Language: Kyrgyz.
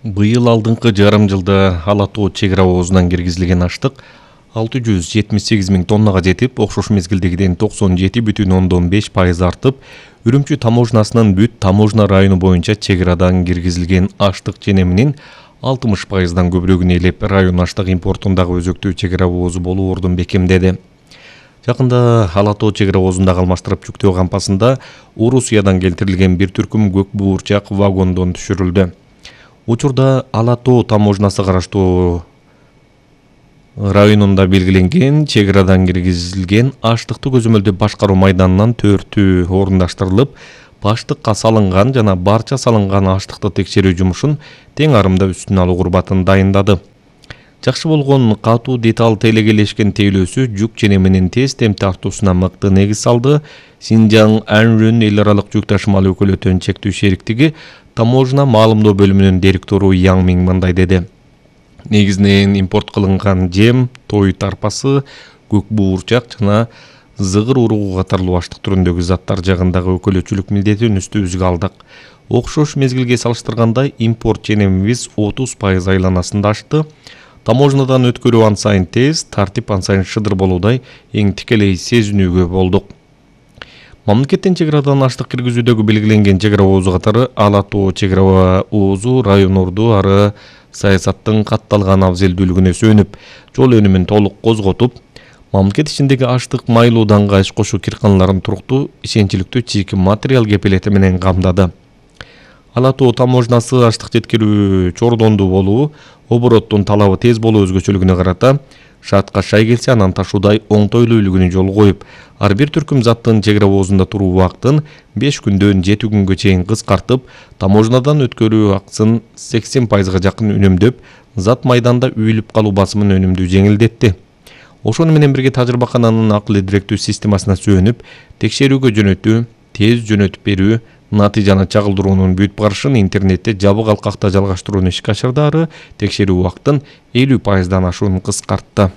Быйыл алдыңкы жарым жылда Ала тоо чек ара оозунан киргизилген аштык 678 миң тоннага жетип, окшош мезгилдегиден 97,5% артып, Үрүмчү таможнасынын бүт таможна району боюнча чек арадан киргизилген аштык ченеминин 60%дан көбүрөгүн ээлеп, район аштык импортундагы өзөктүү чек ара оозу болуу ордун бекемдеди. Жакында Ала тоо чек ара оозундагы алмаштырып жүктөө кампасында Орусиядан келтирилген бир түркүм көк буурчак вагондон түшүрүлдү. Учурда Ала тоо таможнасы караштуу районунда белгиленген чек арадан киргизилген аштыкты көзөмөлдөп башкаруу майданынан төртү орундаштырылып, баштыкка салынган жана барча салынган аштыкты текшерүү жумушун тең арымда үстүнө алуу курбатын дайындады. Жакшы болгон катуу деталь тейлегелешкен тейлөөсү жүк ченеминин тез темп тартуусуна мыкты негиз салды. Синжаң Анжүн эл аралык жүк ташымал өкүлөтөн чектүү шериктиги таможна маалымдоо бөлүмүнүн директору Яң Миң мындай деди. Негизинен импорт кылынган жем, той тарпасы, көк буурчак жана зыгыр уругу катарлуу аштык түрүндөгү заттар жагындагы өкүлөчүлүк милдетин үстүбүзгө алдык. Окшош мезгилге салыштырганда импорт ченемибиз 30% айланасында ашты. Таможнадан өткөрүү ан сайын тез, тартип ан сайын шыдыр болуудай эң тикелей сезинүүгө болдук. Мамлекеттин чек арадан аштык киргизүүдөгү белгиленген чек ара оозу катары Ала тоо чек ара оозу район орду ары саясаттын катталган абзелдүүлүгүнө сүйөнүп, жол өнүмүн толук козготуп, мамлекет ичиндеги аштык майлууданга иш кошуу кирканаларын туруктуу, ишенчиликтүү чийки материал кепилети менен камдады. Ала тоо таможнасы аштык жеткирүү чордондуу болуу, обороттун талабы тез болуу өзгөчөлүгүнө карата шартка шай келсе анан ташуудай оңтойлуулугуна жол коюп, ар бир түркүм заттын чек ара оозунда туруу убактын 5 күндөн 7 күнгө чейин кыскартып, таможнадан өткөрүү акысын 80%га жакын үнөмдөп, зат майданда үйүлүп калуу басымын өнүмдүү жеңилдетти. Ошону менен бирге тажрыйбакананын акыл эдиректүү системасына сүйөнүп, текшерүүгө жөнөтүү, тез жөнөтүп берүү, натыйжаны чагылдыруунун бүт барышын интернетте жабык алкакта жалгаштырууну ишке ашырды, ары текшерүү убактын 50%дан ашуун кыскартты.